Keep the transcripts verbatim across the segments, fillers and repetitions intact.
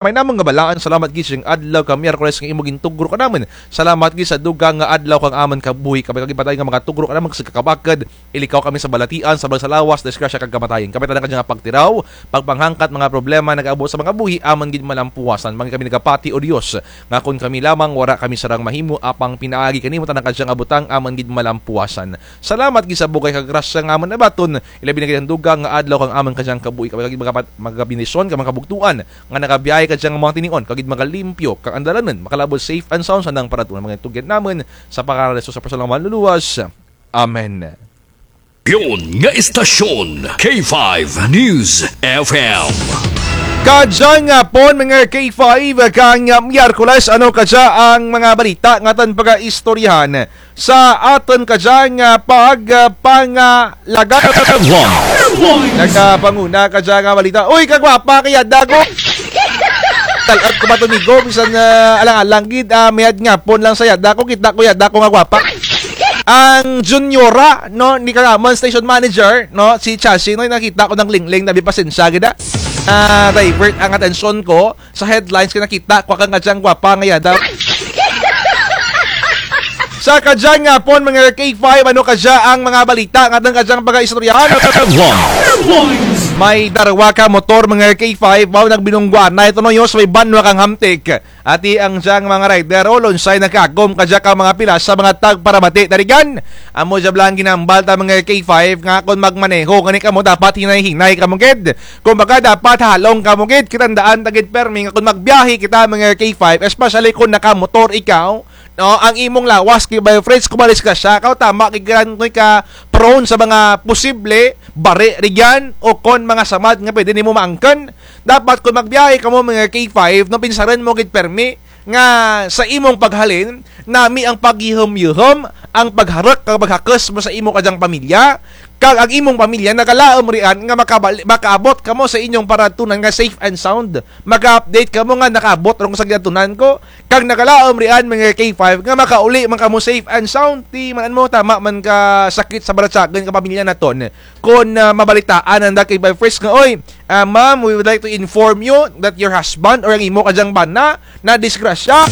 May namun nga balaan, salamat gid sa adlaw ka Miyerkules nga imo gintugro kanamun. Salamat gid sa dugang nga adlaw kang amun kabuhi, kabay kang gipadayon nga mga tugro kanamun sa kakabakod. Ilikaw kami sa balatian, sa balag sa lawas, disgrasya kag kamatayon. Kabay tanan kadya nga pagtiraw, pagpanghangkat mga problema nagaabot sa mga buhi, amun gid malampuasan. Mangin kami nagapati, O Dios, nga kon kami lamang wara kami sarang mahimo, apang pinaagi kanimo tanan kadya nga butang amun gid malampuasan. Salamat gid sa bugay kag grasya nga amun nabaton, ilabi na gid ang dugang nga adlaw kang amun kadya nga kabuhi, kabay kang gid magapat-, magabindisyon kang mga kabugtuan nga nagabiyahe kadya nga mga tinion, kag gid magalimpyo kang andalanon, makalabot safe and sound sa andang paratuon. Mga tugyan namun sa pangalan ni Jesus sa personal nga manluluwas. Amen. Yon nga istasyon, K five News F M. Kadya nga hapon, mga K five, kang Miyerkules, ano kadya ang mga balita nga atun pagaistoryahan sa atun kadya nga pag, ah, pangalaga. Headlines. Nagapanguna kadya nga balita. Uy, kagwapa kay yada ko. Tal-at ko ba to, migo? Bisan, ah, alang-alang gid, ah, mayad nga hapon lang sa yada ko. Kita ko yada ko nga gwapa. Ang juniora, no, ni kang amun station manager, no, si Chasi, no, nakita ko nang lingling, nabi pasensya gid, ah. Ah, divert ang atensyon ko sa headlines kay nakita ko kang kadyang gwapa nga yada. Sa kadyang hapon, mga K five, ano kadya ang mga balita nga atun kadyang pagaistoryahan? Headlines. May darwa ka motor, mga K five, wow, nagbinungguanay to no, yo, sa may banwa kang Hamtic. Ati ang dyang mga rider, o, lunsay nagkagom kadya ka mga pilas sa mga tagparamati. Tarigan, amo dya bala ang ginhambal ta, mga K five, nga kon magmaneho gani kamo, dapat hinay-hinay kamo gid. Kumbaga, dapat halong kamo gid. Kitandaan ta gid permi nga kon magbiyahe kita, mga K five, especially kon nakamotor ikaw, no, ang imong lawas, K five friends, kon madisgrasya kaw, tama gid ka prone sa mga posible bari rugyan o kon mga samad nga pwede nimo maangkon. Dapat kon magbiyahe kamo, mga K five, no, pinsarun mo gid permi nga sa imong paghalin, nami ang paghihum-yuhum, ang pagharuk kag paghakos mo sa imo kadyang pamilya, kag ang imong pamilya nagalaum rian nga makabali-, makaabot kamo sa inyong paratunan nga safe and sound. Maka-update kamo nga nakaabot run ko sa ginatunan ko, kag nagalaum rian, mga K five, nga makauli man kamo safe and sound. Ti man-an mo, tama man ka sakit sa baratyagun ka pamilya naton. Kon, ah, mabalitaan nanda, K five friends, nga, "Oy, ah, ma'am, we would like to inform you that your husband or ang imo kadyang bana nadisgrasya."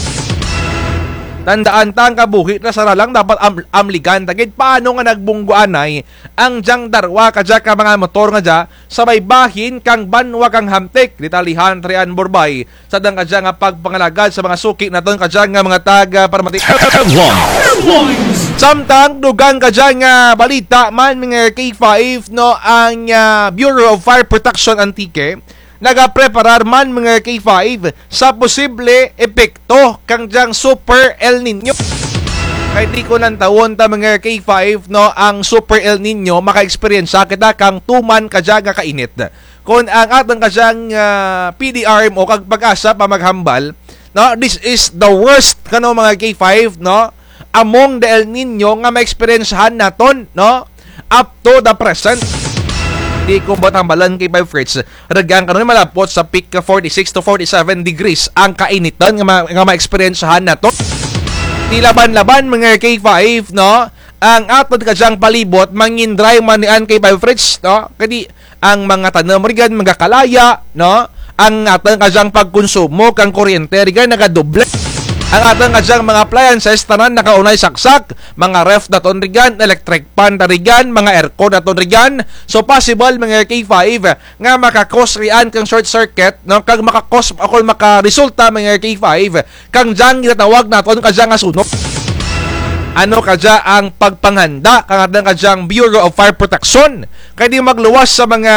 Tandaan ta, ang kabuhi ta sara lang dapat am-, amligan ta gid. Paano nga nagbungguanay ang dyang darwa kadya ka mga motor nga dya sa may bahin kang banwa kang Hamtic? Detalyehan ta rian, Borbay, sa andang kadya nga pagpangalagad sa mga suki naton kadya nga mga tagparamati. Headlines. Samtang dugang kadya nga balita man, mga K five, no, ang, ah, Bureau of Fire Protection Antique nagapreparar man, mga K five, sa posible epekto kang dyang Super El Niño. Kay ti kon lantawon ta, mga K five, no, ang Super El Niño, maka-experience kita kang tuman kadya nga kainit. Kon ang atun kadyang, ah, P D R M O kag PAGASA pa maghambal, no, this is the worst, kano, mga K five, no, among the El Niño nga maeksperiensyahan naton, no, up to the present. Ti ko ba hambalan, K five friends, rugyan kano malapot sa peak ka forty-six to forty-seven degrees ang kainiton nga ma-, nga maeksperiensyahan naton. Ti laban-laban, mga K five, no, ang atun kadyang palibot, mangin dry man rian, K five friends, no? Kay ti ang mga tanum rugyan magakalaya, no? Ang atun kadyang pagkonsumo kang kuryente rugyan nagadoble. Ang atun kadyang mga appliances tanan nakaunay saksak, mga ref naton rugyan, electric fan ta rugyan, mga aircon naton rugyan. So possible, mga K five, nga maka-cause rian kang short circuit, no? Kag maka-cause o kon makaresulta, mga K five, kang dyang ginatawag naton kadya nga sunog. Ano kadya ang pagpanghanda kang atun kadyang Bureau of Fire Protection? Kay ti magluwas sa mga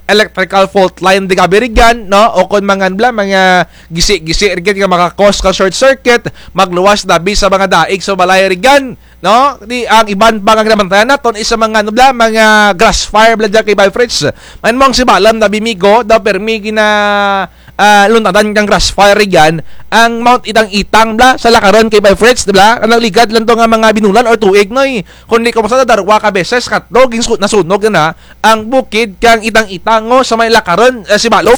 electrical fault line ti gabi rugyan, no? O kon mga, ano bala, mga gisi-gisi rugyan nga maka-cause kang short circuit, magluwas dabi sa mga daig sa balay rugyan, no? Ti ang iban pa nga ginabantayan naton is sa mga, ano bala, mga grass fire bala dyan, K five friends. Man mo ang sibalom dabi, migo, daw permi gina- ah, luntadan kang grass fire rugyan, ang Mount Itang-Itang bala, sa lakaron, K five friends, di bala? Ang ligad lang to nga mga binulan or tuig, noy. Kundi kung sa darwa ka beses, katlo, gin-, nasunog na ang bukid kang Itang-Itang, o, sa may lakaron, eh, sibalom.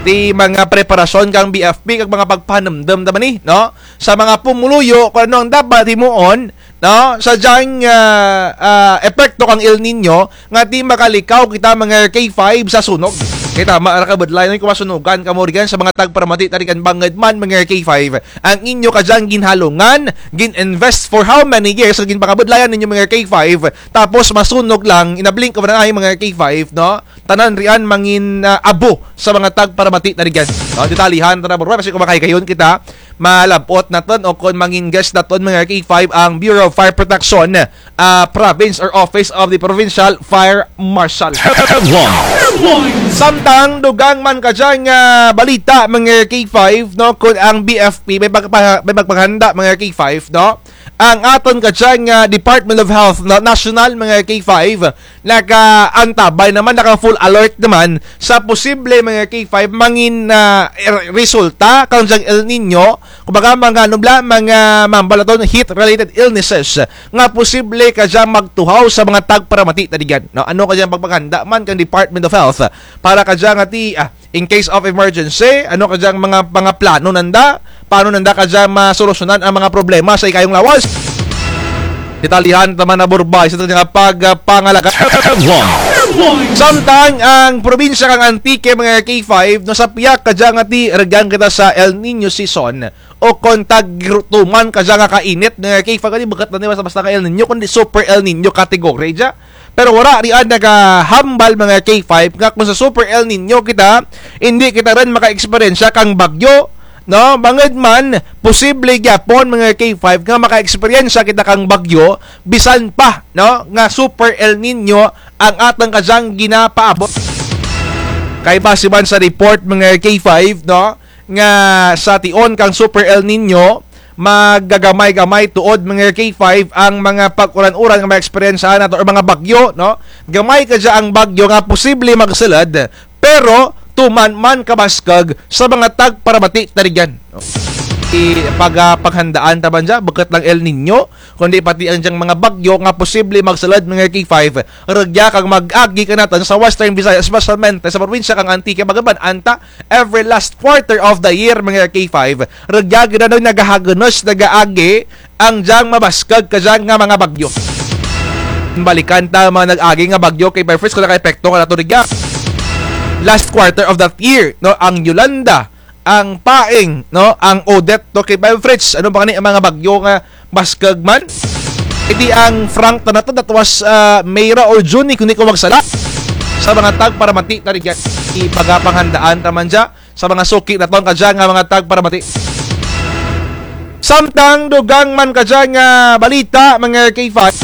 Ti mga preparasyon kang B F P, kag mga pagpahanumdum naman ni, no? Sa mga pumuluyo, kung ano ang dapat himuon, no? Sa dyang, ah, ah, epekto kang El Niño, nga ti makalikaw kita mga K five sa sunog. Kay tama ra kabudlay, no, kon masunugan kamo rugyan sa mga tagparamati tarigan bangud man, mga K five. Ang inyo kadyang ginhalungan, gin-invest for how many years, ang ginpakabudlayan ninyo, mga K five, tapos masunog lang, in a blink of an eye, mga K five, no? Tanan riyan mangin, ah, abo sa mga tagparamati tarigan. No, detalyehan ta na, bro, basi kon makahigayon kita, malab-ot natun o kon mangin guest natun, mga K five, ang Bureau of Fire Protection, ah, Province or Office of the Provincial Fire Marshal. Headlines. Samtang dugang man kadyang, ah, balita, mga K five, no, kon ang B F P may pagpa-, may pagpanghanda, mga K five, no, ang atun kadyang, ah, Department of Health, no, national, mga K five, nakaantabay naman, naka full alert naman sa posible, mga K five, mangin, ah, er-, resulta kang dyang El Niño. Kumbaga, mga, ano bala, mga mambal natun, heat-related illnesses nga posible kadya magtuhaw sa mga tagparamati tarigan. No, ano kadyang pagpaghanda man kang Department of Health para kadya nga ti, ah, in case of emergency, ano kadyang mga, mga plano nanda? Paano nanda kadya masolusyonan ang mga problema sa ikayong lawas? Detalyehan ta man na, bro, basi sa kadyang pagpangalagad. Headlines. Samtang ang probinsya kang Antique, mga K five, no, sa piyak kadya nga ti rugyan kita sa El Niño season, o kon tagtuman kadya nga kainit, mga K five, kani bukut lang ni basta-basta nga El Niño, kundi Super El Niño category dya. Pero wara riyan nagahambal, mga K five, nga kon sa Super El Niño kita, indi kita run maka-eksperyensya kang bagyo, no? Bangud man, posible gyapon, mga K five, nga maka-eksperyensya kita kang bagyo, bisan pa, no, nga Super El Niño ang atun kadyang ginapaabot. Kay basi man sa report, mga K five, no, nga sa tion kang Super El Niño, magagamay-gamay tuod, mga K five, ang mga pag-uran-uran nga maeksperyensyahan nato or mga bagyo, no? Gamay kadya ang bagyo nga posible magsulud, pero tuman man kabaskug sa mga tagparamati tarigan. I-, pag-, ah, paghandaan ta man dya, bukut lang El Niño, kundi pati ang dyang mga bagyo nga posible magsulud, mga K five, rugya kang mag-agi kanatun sa Western Visayas, espesyalmente sa probinsya kang Antique, bangud man anta, every last quarter of the year, mga K five, rugya gid daw nagahagunos, nagaagi ang dyang mabaskug kadya nga mga bagyo. Balikan ta mga nag-agi nga bagyo, K five Fritz, kon nakaepekto kanatun rugya. Last quarter of that year, no, ang Yolanda, ang Paeng, no, ang Odette, no, K five Fritz, ano pa kani ang mga bagyo nga baskug man? Indi ang Frank ta natun, that was, ah, May ra or June, kundi kon di ko magsala. Sa mga tagparamati tarigan, ipagapanghandaan ta man dya sa mga suki natun kadya nga mga tagparamati. Samtang dugang man kadya nga balita, mga K five,